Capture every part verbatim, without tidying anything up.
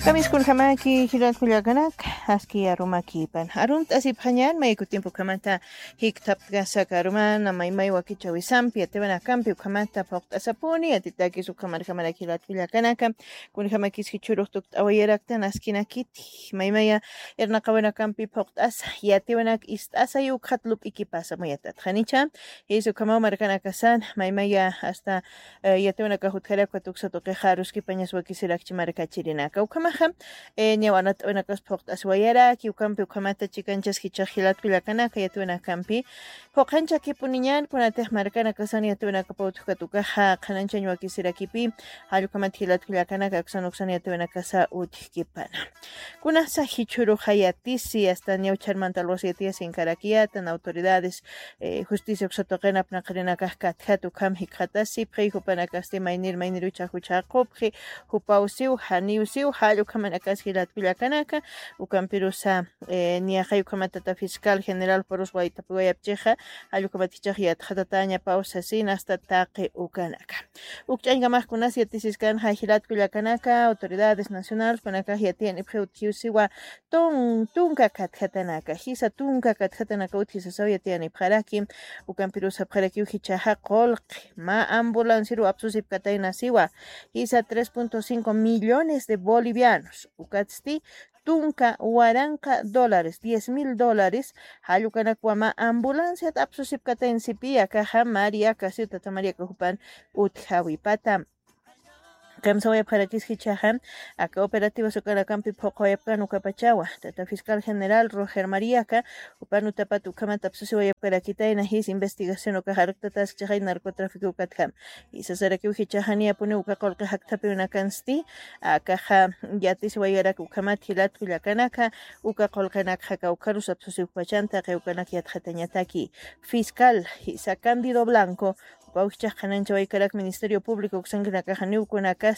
Kamiskunjamaki jilat kullakanaka, aski arumakipan. Arunt'asipxañan, mayku tiempo kamata jikthaptkasaka arumana, maymay wakichawisampi, yatiwanakampi, ukamata phuqt'asapuni, yatitakis ukamarjamarak jilat kullakanaka, kunjamakis jichhurux tukt'awayaraktan askinakiti, maymaya irnaqawanakampi phuqt'asa, yatiwanak ist'asa, yukxat lup'ikipasa muyatatxanicha, jisu ukhamaw markanakasan, maymaya hasta eh, yatiwanakax utjarakwa tuksa tuqixa aruskipañas wakisirakchi markachirinaka. Ukhamaxa, eh, ñawanat'awinakas phuqt'asiwayaraki, ukampi ukhamata chikanchas jichax jilat kullakanaka yatiwanakampi. Phuqhanchakipuniñan, kunatix markanakasan yatiwanakapaw utjkatukaxa, qhananchañ wakisirakipi, jall ukhamat jilat kullakanaka, aksan uksan yatiwanakasa utjkipana. Kunasa jichhuruxa yatisi, hasta ñawchharmanta alwas yatiyasinkarakiyatan, autoridades, eh, justicia uksa tuqin apnaqarinakax katjat ukham jikxatasipxi, jupanakasti maynir maynir uchax juchaqupxi, jupaw siw, janiw siw, jall ukhamanakas jilat kullakanaka, ukampirusa, eh, niyaqay ukhamat tata fiscal general purus waytapiwayapchixa, jall ukhamat jichax yatxatatañapaw sasin hasta taqi ukanaka. Uk ch'añkamax kunas yatisiskanxa jilat kullakanaka, autoridades nacionales kunakax yatiyanipxi utjiw siwa, tun-, tunka katjatanaka, jisa tunka katjatanaka utji sasaw yatiyanipxaraki, ukampirus sapxarakiw jichhaxa qullqi, mä ambulanciaru apsusipkatayna siwa, jisa tres punto cinco millones de bolivianos, ukatsti tunka waranqa dólares, diez mil dólares, jall ukanakwa mä ambulanciat apsusipkatayn sipi, akaxa María Casio, tata María Cajupan utjawipata. Kamsawayapxarakis jichhaxa, aka operativos ukanakampi phuqawayapkan ukapachawa. Tata fiscal general Roger Mariaca, jupan utapat ukhamat apsusiwayapkarakitayna jis investigación ukax arktataskchixay narcotráfico ukatjam. Jisasarakiw jichhaxa niyapuniw uka qullqi jakthapiwinakansti, akaxa yatisiwayarak ukhamat jilat kullakanaka, uka qullqinakxa kawkharus apsusiwkpachan taqi ukanak yatxatañataki. Fiscal, jisa Cándido Blanco, jupaw jichhax qhananchawaykarak Ministerio Público uksankinakaxa niw kunakasta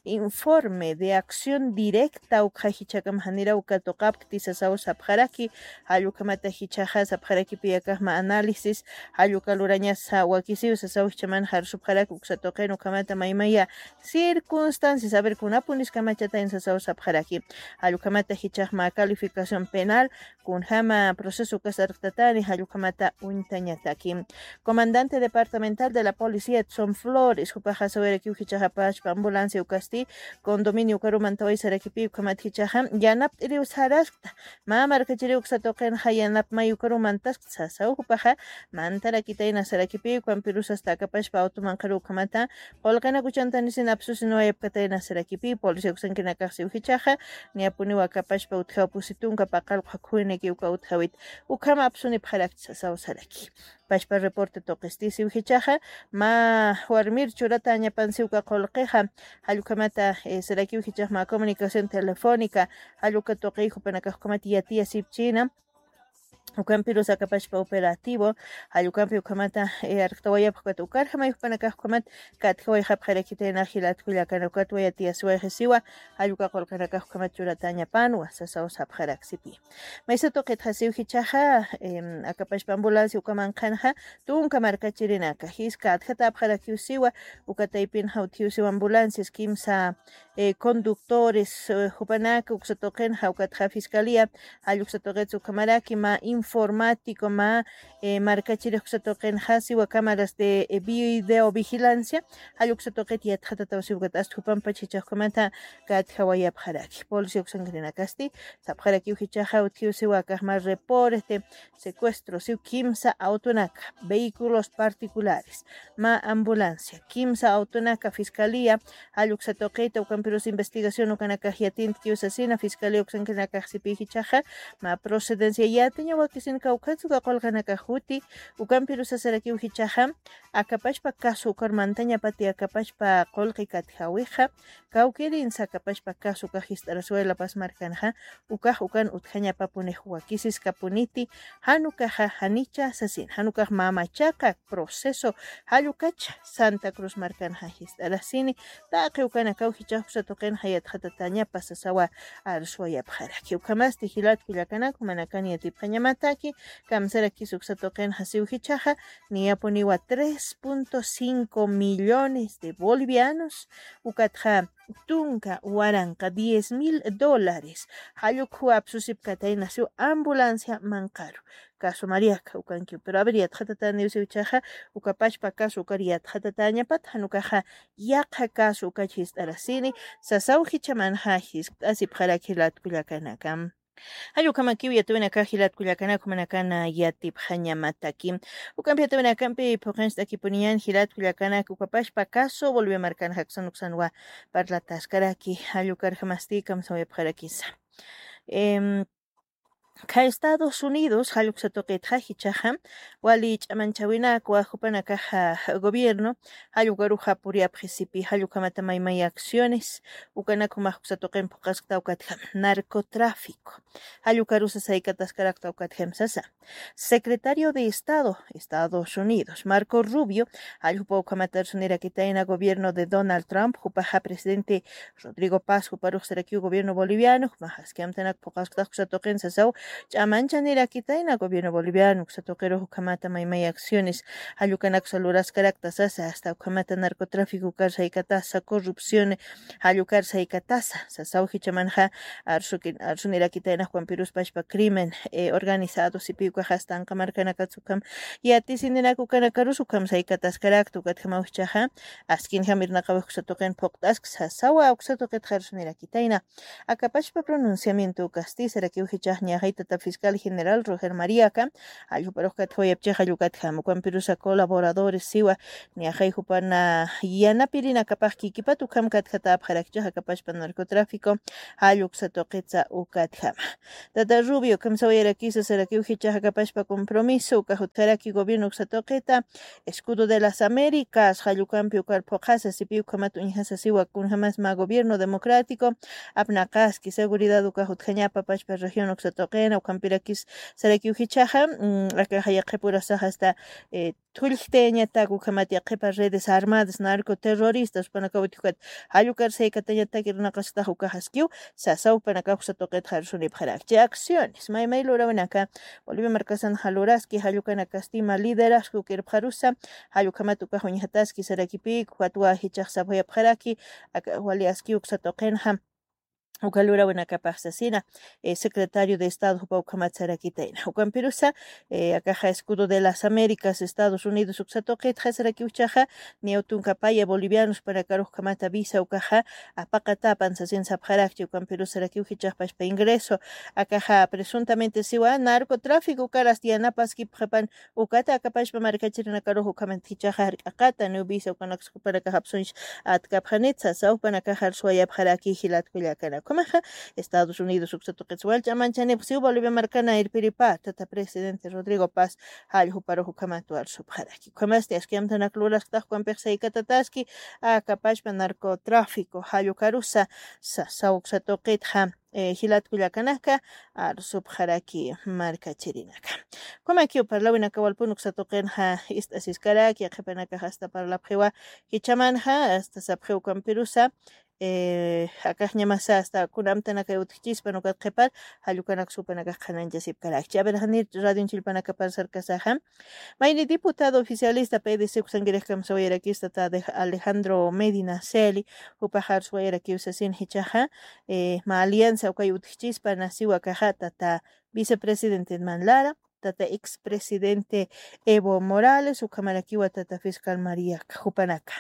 informe de acción directa ukxa jichhakam janiraw katuqapkti sasaw sapxaraki, jall ukhamata jichhaxa sapxarakipi akax mä análisis, jall uka lurañasa wakisiw sasaw jichhaman jarsupxarak uksa tuqin ukhamata maymaya circunstancias, a ver, kunapunis kamachatayn sasaw sapxaraki, jall ukhamata jichhax mä calificación penal, kunjama proceso ukas arktatani, jall ukhamata uñtañataki. Comandante departamental de la policía Edson Flores, jupaxa sawayarakiw jichhaxa pachpa ambulancia ukasti, condominio ukaru mantaway sarakipi ukhamat jichhaxa, yanapt'iriw saraskta, mä markachiriw uksa tuqinxa yanapmay ukaru mantaskta sasaw jupaxa, mantarakitayna sarakipi, ukampirus hasta aka pachpa automanqaru ukhamata, qullqinak uchantanisin apsusinwayapkatayna sarakipi, policía uksankinakaxsiw jichhaxa, niyapuniw aka pachpa utjaw pusi tunka paqallqu jakhuwinaki uka utjawit, ukham apsunipxarakchi sasaw saraki. Pachpa reporte tuqistisiw jichhaxa, mä warmir churatañapansiw uka qullqixa, jall ukhamata, eh, sarakiw jichhax mä comunicación telefónica, jall uka tuqiy jupanakax ukhamat yatiyasipchina, ukampirus aka pachpa operativo, jall ukampi ukhamata, eh, arktawayapxkata ukarjamay jupanakax ukhamat katjawayxapxirakitayna jilat kullakanaka, ukat wayatiyasiwayxisiwa, jall uka qullqinakax ukhamat churatañapanwa sasaw sapxaraksipi. Maysa tuqitxa siw jichhaxa, em, aka pachpa ambulancia ukamanqhanxa, tunka markachirinaka, jiska atjatapxarakiw siwa, uka taypinxa utjiw siwa ambulancias, kimsa, eh, conductores, eh, jupanaka uksa tuqinxa, ukatxa fiscalía, jall uksa tuqitsa ukhamaraki, mä informático, mä, eh, markachirix uksa tuqinxa, siwa cámaras de, eh, videovigilancia, jall uksa tuqit yatxatataw siw ukat, hasta jupampach jichhax ukhamata katjawayapxaraki. Policía uksankirinakasti, sapxarakiw jichhaxa utjiw siwa akax mä reporte, secuestro, siw kimsa autonaka, vehículos particulares, mä ambulancia, kimsa autonaka, fiscalía, jall uksa tuqita, ukampirus investigación ukanakax yatintkiw sasina, fiscalía uksankinakaxsipi jichhaxa, mä procedencia yatiña wakisin kawkhatsa uka qullqinakax juti, ukampirus sasarakiw jichhaxa, aka pachpa caso ukar mantañapati aka pachpa qullqi katjawixa, kawkirin saka pachpa caso ukax jist'arasiway La Paz markanxa, ukax ukan utjañapapunix wakisiskapuniti, jan ukaxa janicha sasin, jan ukax mamachaqa proceso, jall ukacha Santa Cruz markanxa jist'arasini, taqi ukanakaw jichhax uksa tuqinxa yatxatatañapa sasawa arsuwayapxaraki. Ukhamasti jilat kullakanaka, jumanakan yatipxañamata, Ukampirusataki kamsarakis uksa tuqin jasiw jichaxa niyapuniwa tres punto cinco millones de bolivianos, ukatxa tunka waranqa diez mil dólares. Jallukhuwa apsusipkatayna siw ambulancia manqaru. Caso Mariaca ukankiw. Pero a ver, yatxatataniw siw jichaxa, ukapachpa caso ukar yatxatatañapat, janukaxa yaqha caso ukach jist'arasini, sasaw jichamanxa jiskt'asipxaraki jilatkullakanakam. Jallukamakiw yatawinakax jilatkullakanak jumanakana yatipxañamataki. Ukampi yatawinakampi phuqincht'akipuniñan jilatkullakanak ukapashpa caso Bolivia markan jaksan uksanwa parlataskaraki. Jallukarjamasti kamsawayapxarakisa. Em, Kha Estados Unidos jalluksa tuqitxa jichaxa wali ch'amanchawinakwa jupanakaxa gobierno jallukaruxa puriyapxisipi jallukamata maymay acciones ukanak jumax uksa tuqin phuqaskta ukatjam narcotráfico jallukarusa saykataskarakta ukatjam sasa. Secretario de Estado Estados Unidos Marco Rubio jallupa ukhamata arsunirakitayna gobierno de Donald Trump jupaxa presidente Rodrigo Paz juparux sarakiw gobierno boliviano jumax aski amtanak phuqasktax uksa tuqin sasaw ch'amanchaniraktayna gobierno boliviano uksa tuqirux ukhamata maymay acciones jallukanak uksa luraskarakta sasa hasta ukhamata narcotráfico ukar saykatasa corrupción jallukar saykatasa sasaw jichamanxa arsuki arsunirakitayna jukampirus pachpa crimen eh, organizado sipi ukax hasta anqa markanakatsa ukham yatisininaku ukanakarus ukham saykataskarakta ukatjamaw jichaxa askinjam irnaqawix uksa tuqin phuqt'ask sasawa uksa tuqitxa arsunirakitayna. Akapachpa pronunciamiento ukasti sarakiw jichax niyaxay tata fiscal general Roger Mariaca jalljuparux katjawayapchix jallukatjam ukhampirusa colaboradores siwa niyaxay jupana yanapirinakapax kikipat ukham katjatäpxarakchix akapachpa narcotráfico jalluksa tuqitsa ukatjama. Tata Rubio kamsawayarakisa sarakiw jichax akapachpa compromiso uka jutjaraki gobierno uksa tuqita Escudo de las Américas jallukampi ukar phuqhasa sipi ukhamat uñjasa siwa kunjamas mä gobierno democrático apnaqaski seguridad uka jutjañapa pachpa región uksa tuqina ukhampirakis sarakiw jichaxa mm, akaxa yaqhipurasax hasta eh, thullktayañatak ukhamat yaqhipa redes armadas narcoterroristas panakaw utjukat jallukar saykatañatak irnaqasktax ukaxaskiw sasaw panakax uksa tuqitxa arsunipxarakchi acciones maymay lurawinaka Bolivia markasan jaluraski jallukanakasti mä liderazgo kirpxarusa jallukhamat ukax uñjataski sarakipïk ukatwa jichax sapxayapxaraki aka wali aski uksa tuqinxa uka lurawinakapax sasina eh, secretario de estado jupa ukhamat sarakitayna ukampirusa eh, akaxa escudo de las américas estados unidos uksa tuqitxa sarakiw jichaxa niyaw tunka paya bolivianos panakarux ukhamata visa ukaxa apaqatapan sasin sapxarakchi ukampirus sarakiw jichax pachpa ingreso akaxa presuntamente siwa narcotráfico ukaras yanapaskipxapan ukata akapachpa markachirinakarux ukhamat jichaxa jark'aqata niw visa ukanaksa jupanakax apsunch atkapxanitsa sasaw jupanakax arsuwayapxaraki jilatkullakanak ukhamaxa Estados Unidos uksa tuqitsa wal ch'amanchanipx siw Bolivia markana irpiripä tata presidente Rodrigo Paz jalljuparux ukhamat arsupxaraki ukhamasti aski amtanak lurasktax ukampix saykatataski akapachpa narcotráfico jallukarusa sasaw uksa tuqitxa eh, jilatkullakanaka arsupxaraki markachirinaka. Ukhamakiw parlawinaka walpun uksa tuqinxa ist'asiskaraki yaqhipanakax hasta parlapxiwa jichamanxa hasta sapxiw ukampirusa eh, akaxñamasa hasta kuna amtanakay utjchispan ukat qhipar jallukanak supanakax qhananchasipkarakchi a ver janir radion chillpanakapar sarkasaxa Mayni diputado oficialista P D C uksankirix kamsawayarakista ta Alejandro Medina Celi jupax arswayarakiw sasin jichaxa eh, mä alianza ukay utjchispa nasiwa kaxa tata vicepresidente Edman Lara tata expresidente Evo Morales ukhamarakiwa tata fiscal Mariaca jupanaka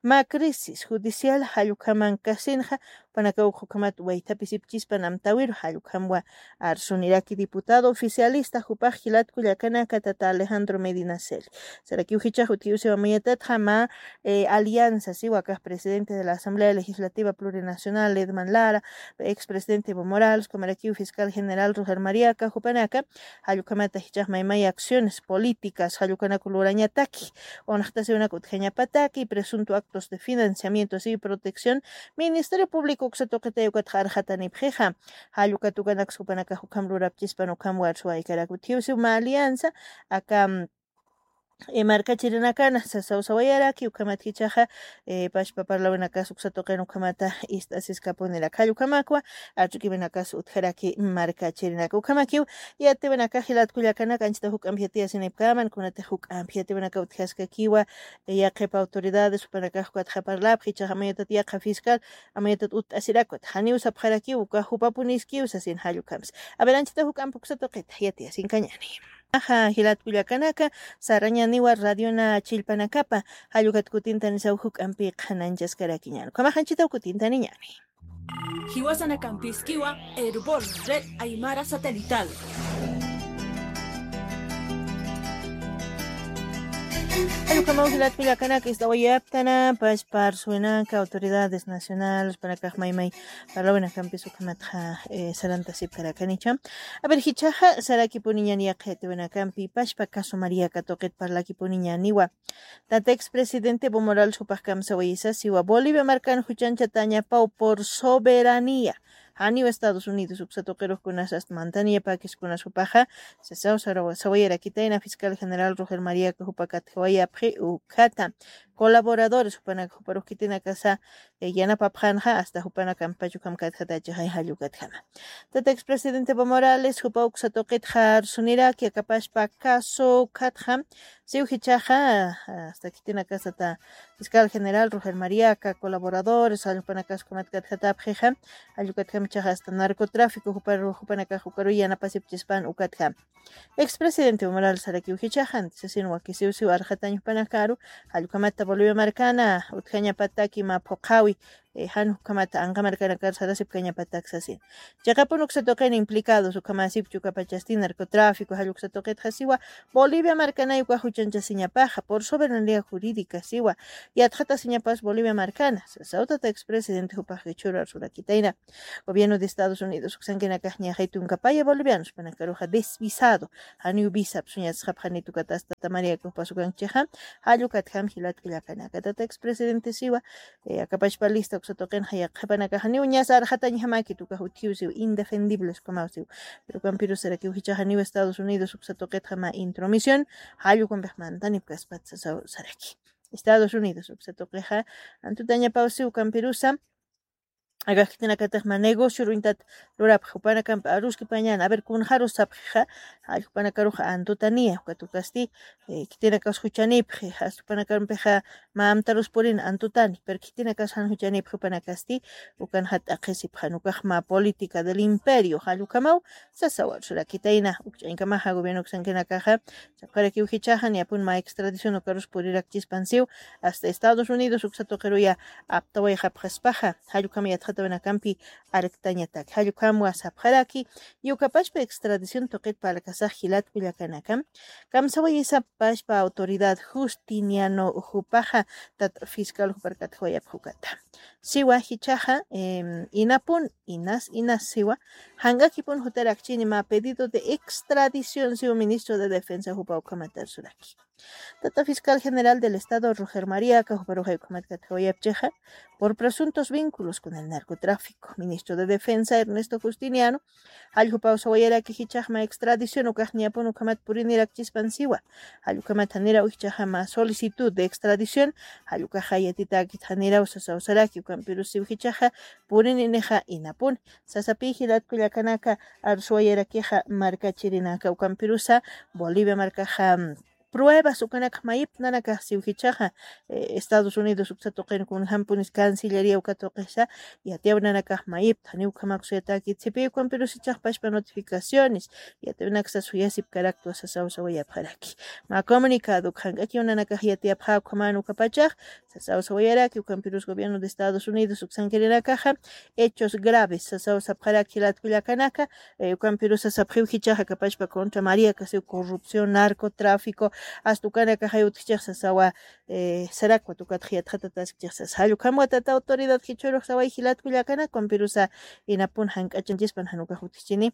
mä crisis judicial jallukhaman kasinxa panaka ukhukamat waythapisipchispan amtawiru jallukhamwa arsuniraki diputado oficialista jupax jilatkullakanaka tata Alejandro Medina Celi sarakiw jichax utjiw siwa mayatatxa mä eh, alianza siwa kax presidente de la asamblea legislativa plurinacional Edman Lara expresidente Evo Morales ukhamarakiw fiscal general Roger Mariaca jupanaka jallukhamata jichax maymay acciones políticas jallukanak lurañataki unxtasiwnak utjañapataki presunto actos de financiamiento siw protección ministerio público uksa tuqitay ukatxa arxatanipxixa jallukat ukanaksa jupanakax ukham lurapchispan ukham warsuwaykarak utjiw siw mä alianza aka eh, markachirinakana sasaw sawayaraki, ukhamat jichhaxa, eh, pashpa parlawinakas uksa tuqin ukhamata ist'asiskapunirak. Jall ukhamakwa archukiwinakas utjaraki markachirinaka. Ukhamakiw yatiwinaka jilat kullakanaka, anchita juk'ampi yatiyasinipkaman, kunatix juk'ampi yatiwinaka utjaskakiwa, eh, yaqhip autoridades jupanakax ukatxa parlapxi, jichhaxa amayatat yaqha fiscal, amayatat utt'asirakwat, janiw sapxarakiw, uka jupapuniskiw sasin jall ukhamsa. A ver, anchita juk'ampi uksa tuqita yatiyasinkañani. Axa, jilat kullakanaka, sarañaniwa radiona chillpanakapa, jall ukat kutintanisaw juk'ampi qhanañchaskarakiñan. Ukhamax anchitaw kutintaniñani. Jiwasanakampiskiwa, Erbol, Red Aymara Satelital. Jall ukhamaw jilat kullakanaka, ist'awayaptana pashpa arsuwinaka, autoridades nacionales, jupanakax maymay parlawinakampis ukhamatxa, eh, sarantasipkarakanicha. A ver, jichhaxa sarakipuniñan yaqha yatiwinakampi pashpa caso Mariaca tuqit parlakipuniñaniwa. Tata expresidente Evo Morales jupax kamsawayisa siwa, Bolivia markan juchanchatañapaw por soberanía. Janiw Estados Unidos uksa tuqirux kunas asta mantaniyapäkis kunas jupaxa, sasaw sarawa-, sawayarakitayna fiscal general Roger Mariaca jupa katjawayapxi ukhata. Colaboradores jupanaka juparux khitinakasa, eh, yanapapxanxa, asta jupanakampach ukham katjatachixa jall ukatjama. Tata expresidente Evo Morales jupa uksa tuqitxa arsuniraki, akapashpa caso ukhatxa, siw jichhaxa, asta khitinakasata fiscal general Roger Mariaca, colaboradores, jall jupanakas ukhamat katjatapxixa, jall ukatjama jichhaxa asta narcotráfico juparu-, jupanakax ukaruy yanapasipchispan ukatjama. Expresidente Evo Morales sarakiw jichhaxa, anti sasin wakisiw siw arxatañ jupanakaru, jall ukhamata Bolivia markana utjañapataki mä phuqhawi, eh, jan ukhamata anqa markanakar sarasipkañapatak sasin. Chiqapun uksa tuqin implicados, ukhamasipchu ukapachasti narcotráfico, jall uksa tuqitxa siwa, Bolivia markanay uka juchanchasiñapaxa, por soberanía jurídica siwa, yatxatasiñapas Bolivia markana, sasaw tata expresidente jupax jichhüru arsurakitayna. Gobierno de Estados Unidos uksankinakax ñaxay tunkapaya bolivianos jupanakaruxa desvisado, janiw visa apsuñasxapxanit ukat asta Mariaca jupas ukankichixa, jall ukatjam jilat kullakanaka. Tata expresidente siwa, eh, akapashpa lista uksa tuqinxa yaqhipanakax janiw ñasa arxatañjamakit, ukax utjiw siw, indefendibles ukhamaw siw. Pero ukampirus sarakiw jichhaxa janiw Estados Unidos uksa tuqitxa mä intromisión, jall ukampix mantanipkaspat sasaw saraki. Estados Unidos uksa tuqixa antutañapaw siw, ukampirusa, akax khitinakatix mä negocio ruñtat lurapxi, jupanakampi aruskipañan, a ver, kunxarus sapxixa, jall jupanakaruxa antutaniya, ukat ukasti, eh, khitinakas juchanipxi, jast jupanakampixa mä amtarus purin antutani, pero khitinakas jan juchanipxi jupanakasti, ukanxa t'aqhisipxan, ukax mä política del imperio, jall ukhamaw, sasaw arsurakitayna, ukch'añkamaxa gobierno uksankinakaxa, sapxarakiw jichhaxa, niyapun mä extradición ukarus purirakchispan siw, asta Estados Unidos uksa tuqiruya aptawayxapxaspaxa, jall ukham yatxatawinakampi arktañatak, jall ukhamwa sapxaraki, y ukapashpa extradición tuqit parlkasax jilat kullakanaka, kamsawayisa pashpa autoridad Justiniano jupaxa, tat fiscal jupar katjawayapxi ukata. Siwa jichhaxa, em, inapun, inas, inas siwa, jank'akipun jutarakchini mä pedido de extradición siwa ministro de defensa jupa ukhamat arsuraki. Tata fiscal general del estado Roger Mariaca juparuxay ukhamat katjawayapchixa, por presuntos vínculos con el narcotráfico, ministro de defensa Ernesto Justiniano, jall jupaw sawayaraki jichhax mä extradición ukax niyapun ukhamat purinirakchispan siwa. Jall ukhamat janiraw jichhaxa mä solicitud de extradición, jall ukaxa yatitäkit janiraw sasaw saraki, ukampirus siw jichhaxa purininixa inapun. Sasapï jilat kullakanaka, arsuwayarakixa markachirinaka, ukampirusa Bolivia markaxa, mm, pruebas ukanakax mayipta nanakax siw jichhaxa, eh, Estados Unidos uksa tuqin kunjampunis Cancillería uka tuqisa, yatiyaw nanakax mayipta, janiw ukhamakus yatäkit sipï, ukampirus jichhax pashpa notificaciones, yatiyawinaksa suyasipkaraktwa sasaw sawayapxaraki. Mä comunicado ukhank'akiw nanakax yatiyapxä ukhaman ukapachax, sasaw sawayaraki, ukampirus gobierno de Estados Unidos uksankirinakaxa, hechos graves, sasaw sapxaraki jilat kullakanaka, eh, ukampirus sasapxiw jichhaxa akapashpa contra Mariaca siw corrupción, narcotráfico, hasta ukanakaxay utjchix sasawa, eh, sarakwat ukatxa yatxatataskchix sasa. Jall ukhamwa tata autoridad jichhürux saway jilat kullakanaka, ukampirusa inapun jank'achañchispan jan ukax utjchini.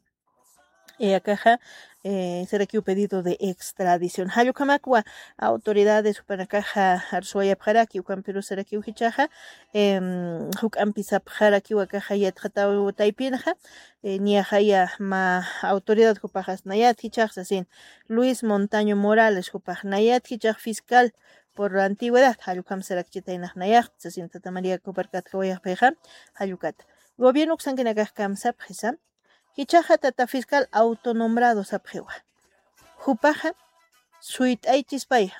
Eh, akaxa, eh, sarakiw pedido de extradición. Jallukhamakwa autoridades jupanakaxa arsuwayapxaraki, ukampirus sarakiw jichaxa, em, juk'ampisapxarakiw akaxa yatxataw taypinxa, eh, niyaxaya ma autoridad jupaxas nayat jichax sasin, Luis Montaño Morales jupax nayat jichax fiscal por la antigüedad, jallukham sarakchitaynax nayaxt sasin tata María Coparcat jawayaxpixa, jallukat. Gobierno uksankinakax kamsapxisa, jichaxa tata fiscal autonombrado sapxiwa. Jupaxa suyt'aychispay,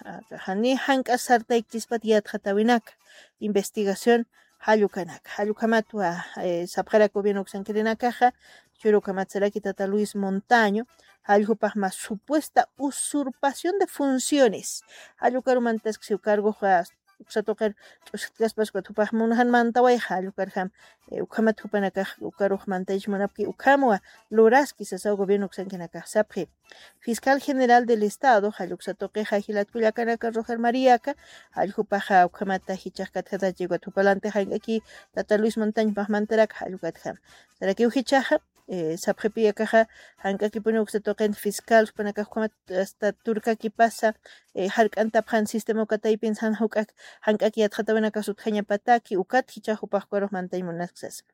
jani jank'as sartaykchispat yatxatawinaka, investigación jallukanaka. Jallukhamatwa, eh, sapxarak gobierno uksankirinakaxa, churukhamat saraki tata Luis Montaño, jallukhapax mas supuesta usurpación de funciones. Jallukarumantaskisiw cargoxa uksa tuqir ch'usktkaspas ukat jupax munxan mantawayxa, jallukarjam, eh, ukhamat jupanakax ukarux mantaychi munapki ukhamwa luraski sasaw gobierno uksankinakax sapxi. Fiscal General del Estado, jalluksa tuqixa jilat kullakanaka Roger Mariaca, jalljupaxa ukhamata jichax katjatachi ukat jupalanti jank'aki tata Luis Montaño paxmantarak jallukatjam. Sarakiw jichaxa, eh, sapxipi akaxa, jank'akipuni uksa tuqin fiscal, jupanakax ukhamat hasta turkakipasa, eh, jark'antapxan sistema ukataypinsan juk'ak, jank'aki yatxatawinakas utjañapataki, ukat jichax jupax ukarux mantañ munaksas.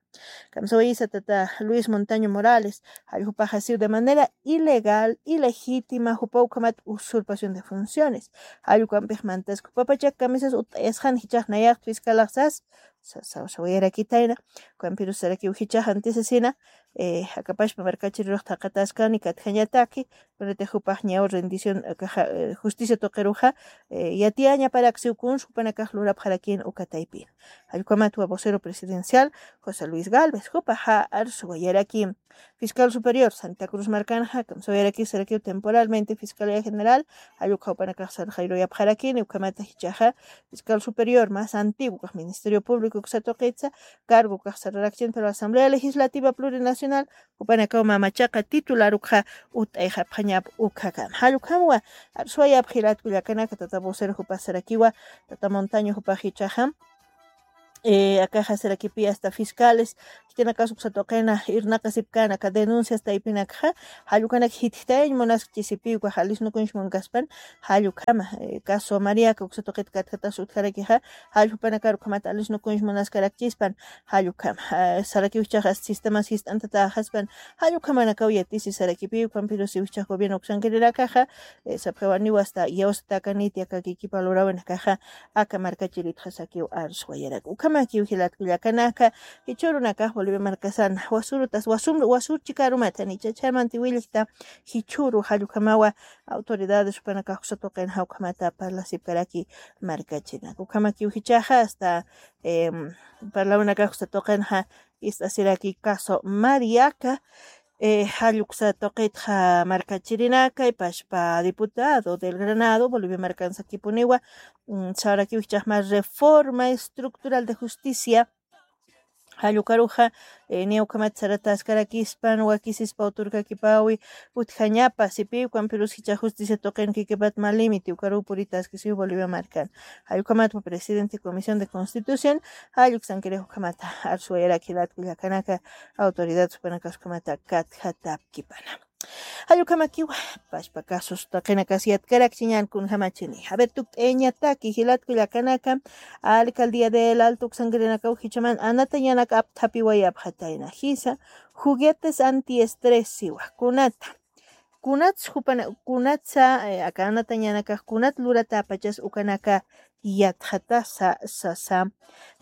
Kamsawayisa tata Luis Montaño Morales, jalljupaxa siw de manera ilegal, ilegítima, jupa ukhamat usurpación de funciones. Jallukampix mantas jupapachak kamisas ut'ayasxan jichax nayax fiscalaxsas, sa-, sa-, sawayarakitayna, ukampirus sarakiw jichax antisasina, eh, akapashpa markachirirux thaqataskani katjañataki, kunatix jupax ñaw rendición, akaxa, eh, justicia tuqiruxa, eh, yatiyañaparaksiw kuns jupanakax lurapxarakin ukataypin. Jallukhamatwa vocero presidencial José Luis Galvez, jupaxa arsuwayaraki. Fiscal Superior Santa Cruz markanxa, kamsawayaraki sarakiw temporalmente Fiscalía General, jallukha jupanakax sarxayruyapxarakini, ukhamata jichaxa Fiscal Superior más antiguo, Ministerio Público uksa tuqitsa, cargo ukax sararakchin, pero Asamblea Legislativa Plurinacional, jupanakaw mamachaqa titular ukxa ut'ayxapxañap ukhakam. Jallukhamwa, arsuwayapxi jilat kullakanaka tata vocero jupas sarakiwa, tata Montaño jupax jichaxam, eh, akaxa sarakipi hasta fiscales, khitinakas uksa tuqina irnaqasipkana aka denuncias taypinakxa, jallukanak jitjtayañ munaskchisipi ukax alisnukuñs munkaspan, jallukhama, eh, caso Mariaca uksa tuqit katjatas utjarakixa, jalljupanakar ukhamat alisnukuñs munaskarakchispan, jallukhama, eh, sarakiw jichaxa sistemas jist'antataxaspan, jallukhamanakaw yatisi sarakipi, ukhampirus jichax gobierno uksankirinakaxa, eh, sapxiwaniw hasta iyawsatakaniti aka kikipa lurawinakaxa, aka markachiritxa sakiw arsuwayarak. Ukhamakiw jilat kullakanaka, jichhürunakax Bolivia markasan, wasurutas, wasum-, wasurchikarumata, nichachaymanti willkta, jichhüru jallukhamawa, autoridades jupanakax uksa tuqinxa ukhamata parlasipkaraki markachinak. Ukhamakiw jichaxa hasta, em, parlawinakax uksa tuqinxa ist'asiraki caso Mariaca, eh, jalluksa tuqitxa markachirinaka, ipashpa diputado del Granado, Bolivia markansakipuniwa, mm, sarakiw jichaxma reforma estructural de justicia, jallukaruxa, eh, niya ukhamat sarataskarakispan, wakisispa uturkakipawi, utjañapa, sipi, ukampirus jicha justicia tuqin kikipat mä límite, ukaruw puritaskisiw Bolivia markan. Jallukhamatwa presidente Comisión de Constitución, jalluksankirix ukhamata, arsuwayaraki jilat kullakanaka, autoridad jupanakax ukhamata, katjatapkipana. Jallukamakiwa, pashpa casos taqinakas yatkarakchiñan kunjamachini. A ver, tukt'ayañataki, jilat kullakanaka, alcaldía del Alto uksankirinakaw jichhaman anatañanak apthapiwayapxatayna. Jisa, juguetes antiestrés siwa, kunata. Kunats jupana, kunatsa, eh, aka anatañanakax kunat luratäpachas ukanaka yatxatasa, sasa.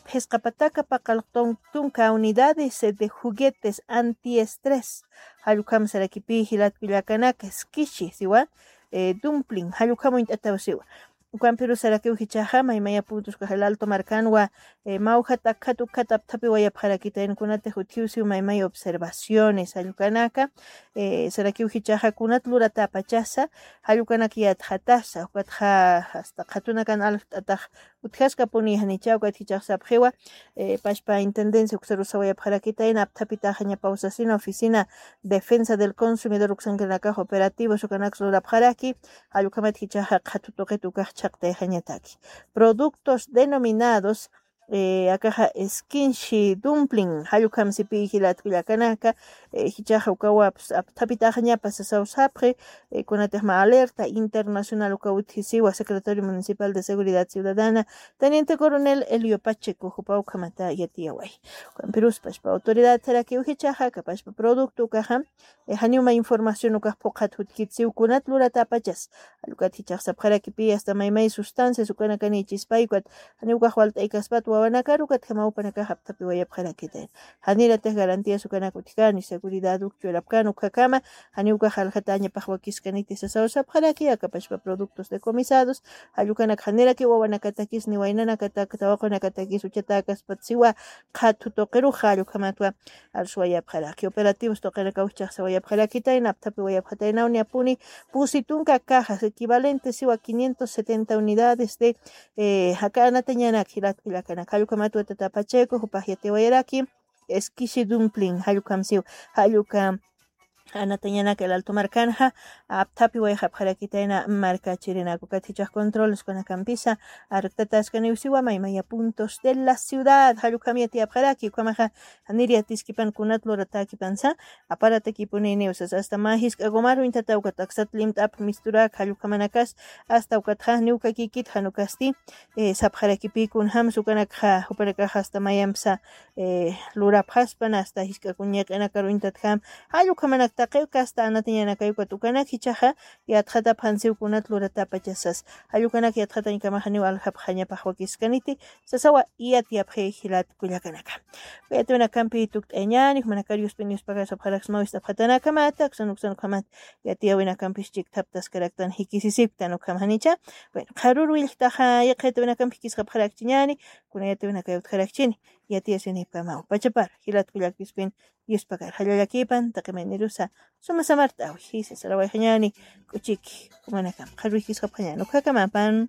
Phisqa pataka paqallqtun tunka unidades de juguetes antiestrés. Jallukham sarakipi jilat kullakanaka, skishi, siwa, eh, dumpling, jallukham uñt'ataw siwa. Ukampirus sarakiw jichaxa, maymaya puntos ukax el Alto markanwa, eh, mawjat akjat ukjat apthapiwayapxarakitayna kunatix utjiw siw maymaya observaciones, jallukanaka, eh, sarakiw jichaxa kunat luratäpachasa, jallukanak yatxatasa, ukatxa hasta qhatunakan aljt'atax utjaskapuni janicha, ukat jichax sapxiwa, eh, pashpa intendencia uksaru sawayapxarakitayna, apthapitaxañapaw sasina, oficina defensa del consumidor uksankirinakax operativos ukanaks lurapxaraki, jallukhamat jichaxa qhatu tuqit ukax chhaqtayxañataki. Productos denominados eh, akaxa esquinshi dumpling, jallukhamsipi jilat kullakanaka, eh, jichaxa ukawa, pues, apthapitaxañapa sasaw sapxi, eh, kunatixma alerta internacional uka utjisiwa secretario municipal de seguridad ciudadana, teniente coronel Elio Pacheco, jupa ukhamata yatiyaway. Ukampiruspa pashpa autoridad jarakiw jichaxa, kapashpa producto ukaxa, eh, janiw mä información ukax phuqhat jutkitsiw kunat luratapachas. Jallukata jichax sapxarakipi hasta maymay sustancias ukanakanichispay ukat, janiw ukax walt'aykaspat wawanakar ukat jamaw upanakax apthapiwayapxarakitayna. Janiratix garantías ukanak utjkani, seguridad uk churapkani ukhakama, janiw ukax aljatañapax wakiskaniti sasaw sapxaraki, akapashpa productos decomisados, jallukanak janiraki wawanakatakis, ni waynanakatak, tawaqunakatakis, uchatäkaspat siwa, qhathu tuqirux jallukhamatwa, arswayapxaraki. Operativos tuqinakaw jichax sawayapxarakitayna, apthapiwayapxataynaw, niyapuni pusi tunka cajas equivalentes siwa quinientos setenta unidades de, eh, jaka anatañanak jilat kullakanak. Jallukhamatwa tata Pacheco, jupax yatiwayaraki, esquishi dumpling, jallukhamsiw, jalluka anatañanak el Alto markanxa, apthapiwayxapxarakitayna markachirinaka, ukat jichax controles ukanakampisa, arktataskaniw siwa maymaya puntos de la ciudad, jallukham yatiyapxaraki, ukhamaxa, janir yatiskipan kunat luratäkipansa, aparatakipuni niw sas, hasta mä jisk'a gomar uñtata ukat aksat limt'ap misturak, jallukhamanakas, hasta ukatxa, niw kakikit jan ukasti, eh, sapxarakipi kunjams ukanakxa, jupanakaxa hasta mayampsa, eh, lurapxaspan, hasta jisk'a kuñiq'inakar uñtatjam, jallukhamanaktaqiw kasta anatañanakay ukat ukanak jichaxa, yatxatapxansiw kunat luratapachasas, jallukanak yatxatañkamaxa niw aljapxañapax wakiskaniti, sasawa yatiyapxi jilat kullakanaka. Yatiwinakampi tukt'ayañäni, jumanakar yuspin yuspakar sapxaraksmaw ist'apxatanakamat, aksan uksan ukhamat yatiyawinakampis chikthaptaskaraktan jikisisipktan ukham janicha. Bueno, qharür willktaxa yaqha yatiwinakampi jikisxapxarakchiñäni, kuna yatiwinakay utjarakchini, yatiyasinipkamaw. Pachapar, jilat kullak yuspin yuspakar, jallallakipan, taqi maynirusa, suma samart'awi, jisa sarawayxañäni, k'uchiki, jumanakam, qharür jikisxapxañäni, ukhakamapan.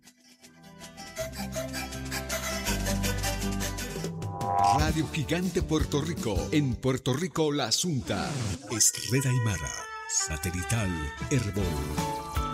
Radio Gigante Puerto Rico, en Puerto Rico la Asunta. Es Red Aymara, satelital Erbol.